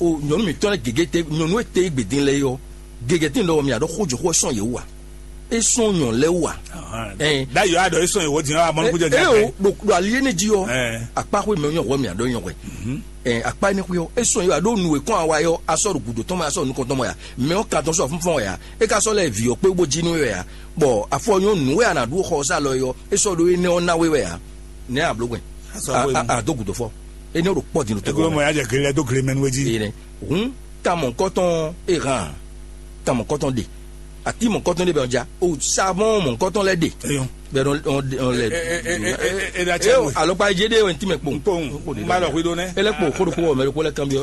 o nyɔ̌nu mǐtɔn lɛ́ɛ gěgé te nyɔ̌nu e te gbědín lɛ́ɛ é ɔ́, gěgé tín ɖɔ mì aɖɔ xójǒxó ɛ sɔn yě wú a? É sɔn nyɔ̌nu lɛ́ɛ wú a? Ɛn. Ɖ'ayǐ ɔ́ aɖɔ é sɔn yě wú dín ɔ́ amɔnukúnjɛ dín. Eo ɖo ɖo ali énɛ́ jí ɔ́. Akpá xwé mɛ nyɔ̌ hwɛ mì aɖɔ nyɔ̌ hwɛ. Ɛ akpá énɛ́ xwé ɔ́ é sɔn yě wú a ɖó nǔ e kɔn awa é ɔ́ a sɔ́ ɖo gǔdo tɔn mɛ a sɔ́ ɖo nukɔn tɔn mɛ a mɛ ɔ́ kan tɔn sɔ́ fúnfɔ́n wɛ a é ka sɔ́ lɛ vǐ ɔ́ kpé bó jí nú é wɛ a bɔ afɔ nyɔ̌ nǔ e a nǎ ɖu xɔ sá lɔ é ɔ́ é sɔ́ ɖó énɛ́ ɔ́ ná we wɛ a nɛ́ a blǒ gbɛn. Azɔ a- hwenu. A- a- a dó gǔdo fɔ énɛ́ ɖo kpɔ́ din ɖo tɛgbɛ Eglo mɔ ya jɛ gele lɛ dó gele mɛ nú é jí. Ene hun tamɔ kɔtɔn e hàn tamɔ kɔtɔn ɖe ati mɔ kɔtɔn ɖe bɛ ɔn ja o savɔn mɔ kɔtɔn lɛ ɖe. Eyɔn. Bɛ ɔn ɔn ɔn lɛ. E- e- e- e- e- e- da cɛ Eyo we. Alɔkpa je ɖe wɛ ntí mɛ kpɔn. Kpɔn. N ba lɔ hwi ɖo nɛ. Ele kpɔ xo ɖo kpɔ mɛ ɖo kpɔ lɛ kan bi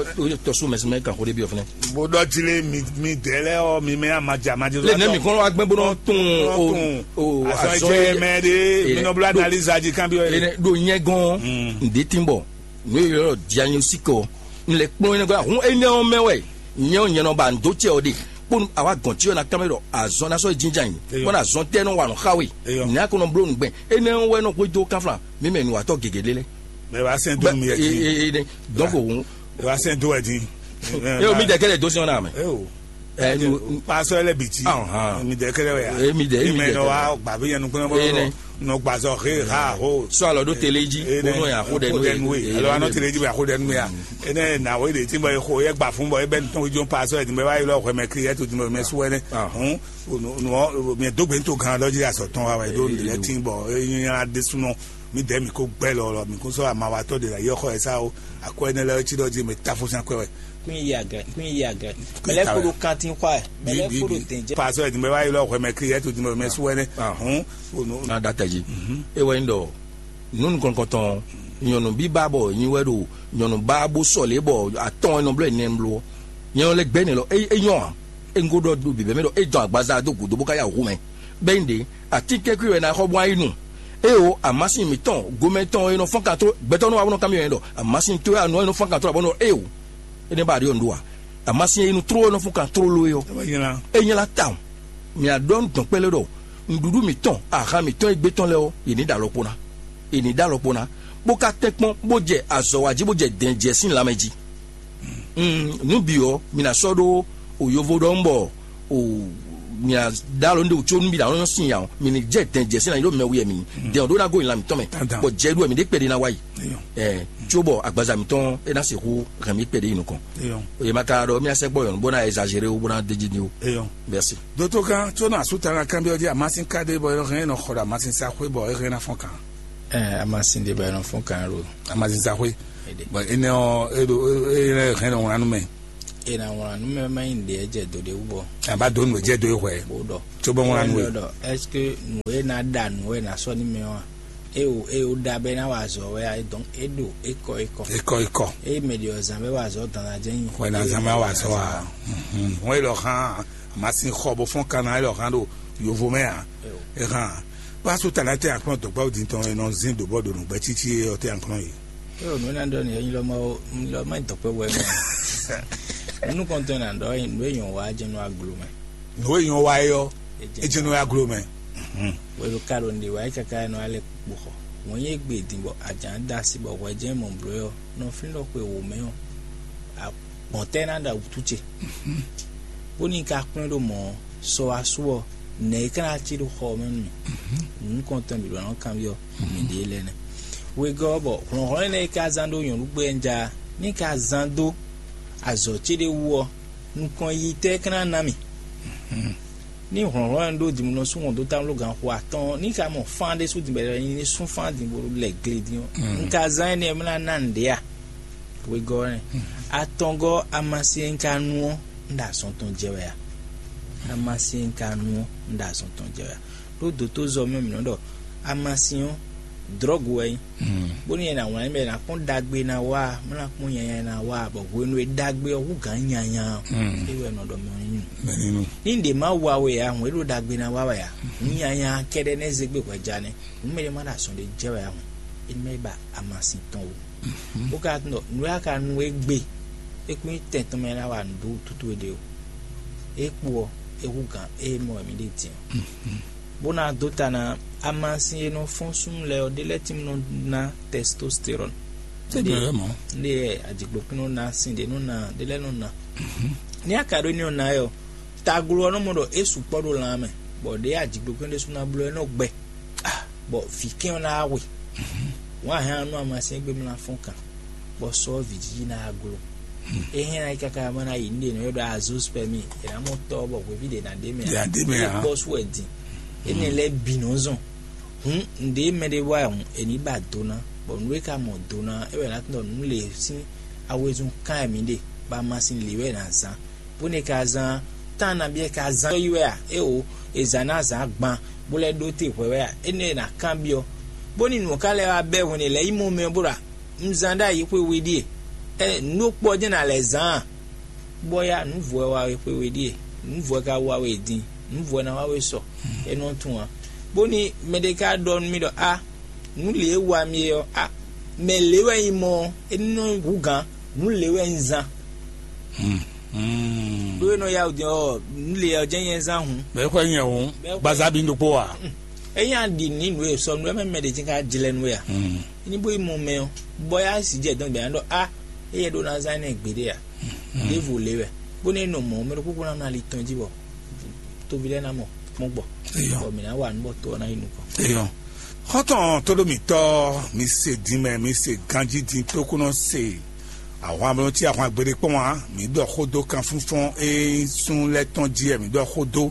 tɔsu mɛ sinmɛ kan xo ɖe bi ɔfɛnɛ. Bo dɔ ti le mi mi dɛ lɛ ɔ mi mɛ amaja amaja. Le ne mi kɔn wa gbɛ bo nɔ tún o o Azɔ azɔ jɛ ye mɛ de mi nɔ bla analyse aji kan bi ɔ ye. Ene ɖo nyɛ gɔn ǹdí tí ń bɔ nù yɔ diagnostic ɔ n lè kplɔn yẹn gɔn ahun énɛ́ ɔ́ mɛ wɛ nyɛ ɔ́ nyɛ nɔ ba ndo cɛ ɔ de kpɔnu awa gɔn tí ɔ na kán mɛ ɖɔ azɔn na sɔ yi jinjan yi Eyɔ. Kpɔnu azɔn tɛ nɔ wa nɔ xa we Eyɔ. Ní a ko nɔ bló nùgbɛ énɛ́ ɔ́ wɛ nɔ hwedó kánfla mi mɛ nùwatɔ gègé lé lɛ. Mɛ wa sɛn dunu mi yɛ ti. Ee ee donc òun Wa sɛn do wɛ di. Eo mi dɛ kɛlɛ dó sí ɔn na mɛ. Eo. Ɛ nu Pasɔ lɛ bi ti. Ahàn. Mi dɛ kɛlɛ wɛ ya. Ee, mi dɛ, mi Ime dɛ nɔ kɛlɛ. Wa gba bi yɛn nukun Ee, bɔ nɛ. Nɔ gbazɔ he ha ho. Sɔ alɔ ɖo tele dzi Ee, nɛ. Wonɔ ya xo ɖɛ Ko nu dɛ nu ye. Alɔ anɔ tele dzi bɛ xo dɛ nu ya. Ene na wo de ti bɔ ye xo ye gba fun bɔ ye bɛ ntɔn jo Pasɔ ye di bɛ wa yi lɔ hwɛ mɛ kiri ye to di bɛ mɛ su wɛ ne. Ah. Hun. Nu mi do gbe to gan lɔ ji asɔ tɔn wa wɛ do Ee, lɛ do. Ti bɔ e nya de sunɔ. Mi dɛ mi ko gbɛ lɔ lɔ mi ko sɔ amawatɔ de la yɔ xɔ ye sa o. Akɔ ene lɛ ti dɔ di me ta fo san kɔ wɛ. Kún yi agɛ, kún yi agɛ. Mɛlɛ fo ɖo kantin xɔ ɛ. Mɛlɛ fo ɖo tɛn jɛ. Pasɔ ɛdi mɛ wa yi lɔ hwɛ mɛ kiri ɛtu di mɛ su wɛ ne. Hun. Na da tɛ dzi. E wɛ nyi ɖɔ nu nukɔnkɔntɔn nyɔnu bíbá bɔ nyi wɛ ɖo nyɔnu bá bó sɔle bɔ atɔn ɛnɔ blɔ ɛnɛ blɔ nyɛ lɛ gbɛ ne lɔ e e nyɔ a e ŋgo ɖɔ do bibɛ mɛ ɖɔ e dɔn agbaza do gudo bó ka ya hu mɛ bɛ nyi ɖe atikɛkui wɛ na xɔ bɔ ayi nu e o amasin mitɔn gomɛtɔn e nɔ fɔn kan tro gbɛtɔ nɔ wa bɔ nɔ kamion yɛ ɖɔ amasin to ya nɔ e nɔ fɔn kan tro abɔ nɔ e o e ne ba ɖe yɔ ndo wa amasin e nu tro e nɔ fɔn kan tro lo yɔ e nyla ta o. Mia ɖɔ nu dɔn kpɛlɛ ɖɔ nɖuɖu mitɔn ahan mitɔn e gbé tɔn lɛ ɔ yě ní ɖo alɔkpo ná yě ní ɖo alɔkpo ná bó ka tɛ́ kpɔn bó jɛ azɔ̌ wa jí bó jɛ dɛn jɛ sín lanmɛ jí. Nú bǐ ɔ́ mi ná sɔ́ ɖó o yovo ɖɔhun bɔ o mi ná ɖó alɔ nɖé wútu nú mi ná nyɔ́ sin ya ɔ́ mi ní jɛ dɛn jɛ sín lanmɛ ɖó mɛ wuyɛ mi dɛn ɔ́ ɖó ná gó nyi lan mǐtɔn mɛ bɔ jɛ ɖu wɛ mi ɖé kpɛɖé ná wá yi. Ɛ tso bɔ agbaza mitɔn e ná sixú hɛn mí kpɛɖé yi nukɔn. Eye ma ka ɖɔ mía sɛkpɔ yɔn bó ná exagéré bó ná déji ní o. Eyɔn. Merci. Doto kan tó nɔ asúta ná kanbyɔ́ jí amasin ká ɖé bɔ é hɛn nɔ xɔ ɖo amasin sa xwé bɔ é hɛn ná fɔn kan. Ɛ amasin ɖé bɔ é nɔ fɔn kan ro. Amasin sa xwé. Bɔn énɛ́ ɔ́, é ɖo é hɛn nɔ wlán nú mɛ. È nǎ wlán nú mɛ má nyí nǔɖé jɛ do ɖé wú bɔ. Àbá dó nǔ jẹ́ dó é hwɛ. Bó ɖɔ. Tso bɔ wlán nú é. Ɖɔ, est-ce que nǔ e ná ɖa nǔ wɛ ná sɔ́ ní mɛ ɔ́ a? É o é o ɖa bɛ ná wa azɔ̌ wɛ a? Donc é ɖo é kɔ é kɔ. É kɔ é kɔ. É mɛ ɖi ɔzán bɛ wa azɔ̌ dan ná jẹ́ nyi. Wɛ ná zán bɛ wa azɔ̌ wa. Wọ́n é lɔ hán. Màsín xɔ bó fɔ́n kan ná é lɔ hán ɖo yovo mɛ a. É hán. Pásítọ̀ tɛ́ àkplɔ́n dɔ̌gbáwú din tɔn e nɔ zín ɖǒ bɔ ɖo nǔgbɛ́ cící é ɔ́ tɛ́ àkplɔ́n yìí. Yóò nǔ ná ɖɔ nìyɛn nyí lɔ má ó nyí lɔ má nyí dɔ̌kpɛ́ wɛ mɛ. Nukɔntɔn ná ɖɔ nǔ e nyɔ wa jɛ nú aglo mɛ. Nǔ e nyɔ wa é ɔ́, é jɛ nú aglo mɛ. Wɛ ɖo ka ɖo nɖe wa é kaka nɔ alɛ kpo xɔ. Wọ́n nyí égbé din bɔ ajǎn da asi bɔ hwɛ jɛ́n mɔ blǒ ɔ́ nɔ flín ɖɔ xwe wò mɛ ɔ́, gbɔn tɛ́ ná ɖa wútu ce. Bóni ka kplɔ́n ɖo mɔ̌ ɔ́, sɔ wá sú ɔ́, nɛ̌ é ka ná cí ɖo xɔ ɔ́ mɛ nú mì? Nǔkɔntɔn bǐ ɖɔ nɔ kanbyɔ́ mǐɖée lɛ́ɛ nɛ́. Wegɔ́ ɔ́ bɔ hlɔ̌nhlɔ́n énɛ́ e ka zán ɖó nyɔ̌nugbɛ́ ja ní ka zán dó azɔ̌ ce ɖé wú ɔ́, nukɔn yiyi tɛ́ é ka ná ná mì? Ní hlɔ̌nhlɔ́n e un ɖó din bó nɔ sú wɔn dó támló ganxo atɔ́ɔ́n, ní ka mɔ fán ɖésú din bɔ è nɔ nyi ní sú fán din bó lɛ gle din ɔ́, un ka zán énɛ́ ɔ́ bó ná ná nǔɖé a? Wegɔ́ ɔ́ nɛ́. Atɔngɔ́ amasin e un ka nu ɔ́, un ɖo azɔn tɔn jɛ wɛ a? Amasin e un ka nu ɔ́, un ɖo azɔn tɔn jɛ wɛ a? Ɖó dǒtózɔ́ mɛ mǐ nɔ ɖɔ amasin ɔ́, drɔ̌gu wɛ nyí. Bónú è nǎ wlán bɔ è nǎ kpɔ́n ɖagbe ná wa, bó ná kpɔ́n nyanya ná wa, bɔ hwenu e ɖagbe ɔ́ hú gǎn nyanya ɔ́, é wɛ nɔ ɖɔ mɛ ɔ́ nyí nǔ. Ní ɖě má wa we ǎ, hǔn é ɖo ɖagbe ná wa wɛ ǎ. Hǔn nyanya kɛ́ɖɛ́ nɛ́ zé gbé hwɛjá nɛ́. Hǔn mɛɖé má ɖo azɔn ɖé jɛ wɛ ǎ hǔn, é ní má yi ba amasin tɔn wú. Bó ka tunɔ nǔ e a ka nu égbé, é kún nyí tɛn tɔn mɛ ná wa nǔ dó wútútú we ɖe o. É kpo ɔ́, é hú gǎn é mɔ wɛ mǐ ɖe din ɔ́. Bó ná dó ta ná amasin e nɔ fɔ́n súnnu lɛ́ɛ ɔ́, ɖé lɛ́ɛ tín nɔ ná tɛstostéron. Tɛ́ ɖě lɛ́ɛ mɔ̌. Ɖé ajigbokún nɔ ná, sin ɖě nɔ ná, ɖé lɛ́ɛ nɔ ná. Ní a ka ɖó ní ɔ́ ná ɛ ɔ́, taglo ɔ́ nɔ mɔ ɖɔ é sukpɔ́ ɖo lan mɛ, bɔ ɖě ajigbokún ɖésú ná bló ɛ nɔ gbɛ, bɔ vǐ kɛn ɔ́ ná wá hwe. Wǎn hɛn ɔ́ nú amasin égbé mlá fɔ́n kan, bɔ sɔ́ vǐ jí ná glo. É hɛn ná yi káká má ná yi nú ɖě nɔ ylɔ́ ɖɔ azospɛmi, è nǎ mɔ tɔ́ bɔ hweví ɖě ná ɖ'é mɛ Ɖě ná ɖ'é mɛ ǎ. Kpɔ́ sú wɛ din. Énɛ́ lɛ́ɛ bǐ nɔ́ zɔn. Hǔn nǔɖé mɛɖé wa ɔ́ hǔn, è ní ba do ná, bɔ nǔ e ka mɔ do ná é wɛ ná tunɔ nǔ lě sín awezun kan wɛ mǐ ɖe, bɔ amasin lě wɛ è nǎ zán. Bónú è ka zán tán nabí è ka zán yi wɛ a? Éwo, è zǎn ná zǎn gban, bó lɛ́ ɖó te hwɛ̌ wɛ a? Énɛ́ è nǎ kanbyɔ́. Bónú nǔ ɔ́ ka lɛ́ wá bɛ́ hwɛ̌n è lɛ̌ yi mɔ mɛ ɔ́ bó ɖɔ nǔzán ɖ'ayǐ xwe we ɖíe. Ɛ nǔ ɖokpó ɔ́ jɛ́n nǎ lɛ́ zán a? Bɔ ya nǔ vɔ wɛ wá we xwe we ɖíe, nǔ vɔ wɛ ka wá we din, nǔ vɔ wɛ ná wá we sɔ, é nɔ tún ǎ. Bónú mɛɖé ka ɖɔ nú mì ɖɔ a nǔ lě e wa mi é ɔ́, a mɛ lě wɛ nyí mɔ ɔ́, é ní nɔ hú gǎn, nǔ lě wɛ nyí zán. Ɖó é nɔ yá wǔ din ɔ́, nǔ lě ɔ́ jɛ́n nyɛ zán hǔn. Bɛ̌ xwɛ nyɛ hǔn, gbaza bí ɖokpó wa. Ényí a ɖi nǔ nyi nǔ e sɔ nú ɛ mɛ mɛ ɖě jɛ́n ká jlɛ́ nú we a? Ní bó yi mɔ mɛ ɔ́, bɔ yá sì jɛ dɔn gbɛ̌ ná ɖɔ a éyɛ́ ɖó ná zán énɛ́ gbeɖé a? Ɖěvo lě wɛ, bónú é nɔ mɔ̌ mɛ ɖokpó kpó ná nɔ ali tɔn jí bɔ tóvi lɛ́ɛ ná mɔ kpɔ́n gbɔ. Eyɔ. Bɔ mǐ ná wa nǔ bɔ to ɔ́ ná yi nukɔn. Eyɔ. Xɔ́ntɔn tóɖómítɔ́, mi se din mɛ, mi se ganjí din tókúnɔ se. Ahwan mlɔtí ahwan gbeɖé kpɔ́n ǎ, mǐ ɖɔ xó dó kanfúnfɔ́n e nyí sún lɛ́ɛ tɔn jí wɛ mǐ ɖɔ xó dó,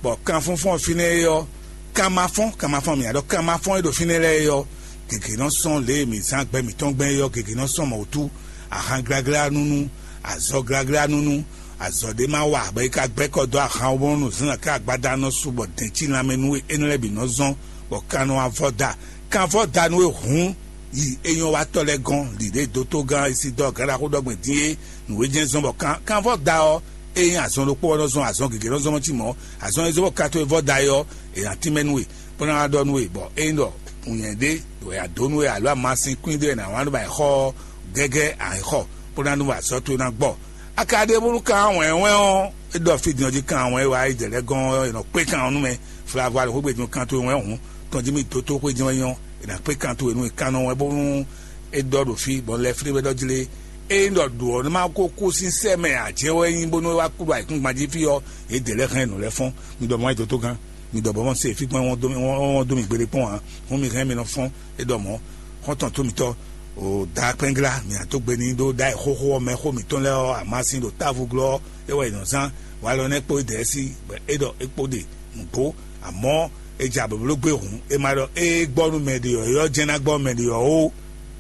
bɔ kanfúnfɔ́n fínɛ́ é ɔ́, kan ma fɔ́n, kan ma fɔ́n mǐ ǎ ɖɔ kan ma fɔ́n e ɖo fínɛ́ lɛ́ɛ é ɔ́, gěgé nɔ sɔ́n lě e mǐ zán gbɛ mǐtɔn gbɛn é ɔ́, gěgé nɔ sɔ́n mɔ̌ wútu, ahan gláglá nú nú, azɔ gláglá nú nú, azɔ ɖé ma wa bɔ é ka gbɛ́ kɔ dó ahan ɔ́ bónú zǎnzǎn ká agbada nɔ su bɔ dɛ̌n cí lanmɛ nú we énɛ́ lɛ́ɛ bǐ nɔ zɔ́n, bɔ kan nɔ wá vɔ́ da. Kan vɔ́ da nú we hǔn, yi é nyɔ́ wa tɔ́ lɛ́ɛ gɔ́n, ɖiɖě dótógán Isidɔ́ɔ Gǎɖaxó ɖɔ gbɛn dín é, nǔ e jɛ́n zɔ́n bɔ kan kan vɔ́ da ɔ́, é nyí azɔn ɖokpó ɔ́ nɔ zɔ́n azɔn gěgé nɔ zɔ́n mɔ̌ cí mɔ̌, azɔn e zɔ́n bɔ ka towe vɔ́ da é ɔ́, è nǎ tínmɛ nú we, bó ná wá ɖɔ nú we, bɔ ényí ɖɔ nǔnywɛ́ ɖé wɛ a dǒ nú we alo amasin kwín ɖé wɛ è nǎ wlán ɖó ba è xɔ ɔ́, gɛ́gɛ́ a nǐ xɔ, bó ná nú azɔ̌ towe ná gbɔ. A ka ɖe bónú kan wɛ̌nwɛ́n ɔ́, é ɖɔ fí din ɔ́ jí kan wɛ̌n e wá yi jɛ lɛ́ɛ gɔ́n ɔ́, è nɔ kpé kan ɔ́ nú mɛ. Flavu alɔxwé gbe din kan towe wɛ́n hǔn, tɔn jí mì dó tó xwé din wɛ́n nyɔ́, è nǎ kpé kan towe nú è kan nɔ wɛ́n bónú é ɖɔ ɖo fí, bɔ un lɛ flín bɔ é ɖɔ jlé. Ényí ɖɔ ɖǒ ɔ́, nú má ko kú sín sɛ́ mɛ ǎ jɛ́n wɛ nyí bónú é wá kú ɖo ayǐkúngban jí fí ɔ́, yě dě lɛ́ɛ hɛn nǔ lɛ́ɛ fɔ́n. Mi ɖɔ mɔ wá yi dó tó gán, mi ɖɔ bɔ mɔ se fí gbɔn wọ́n dó mì wọ́n wọ́n dó mì gbeɖé kpɔ́n ǎ. Hǔn mi hɛn mi nɔ fɔ́n, é ɖɔ mɔ̌. Xɔ́ntɔn tó mitɔ́, o da kpɛ́nglá mǐ ná dó gbe n'i ɖó ɖ'ayǐ xóxó ɔ́ mɛ xó mǐtɔn lɛ́ɛ ɔ́, amasin ɖo távo glɔ́ ɔ́, é wɛ è nɔ zán. Walɔ nɛ́ kpó dɛ̌ sí, bɔ é ɖɔ é kpó ɖe nǔgbó, amɔ̌ è ja blǒbló gbé hǔn, è ma ɖɔ ée gbɔ nú mɛ ɖě ɔ́, é ɔ́ jɛ́n ná gbɔ mɛ ɖě ɔ́ ó.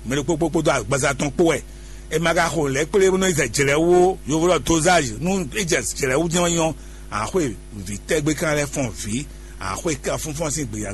mɛ ɖokpó kpódó agbaza tɔn kpó wɛ. E ma ka xo lɛ̌ kplé bó nɔ yi zɛ jlɛ̌ wú ó, yovo ɖɔ dozage, nú é jɛ jlɛ̌ wú jɛ́n ɔ́ nyí ɔ́, a xwé vǐ tɛ́gbé kan lɛ́ɛ fɔn vǐ, a xwé kan fúnfɔ́n sín gbeyǎ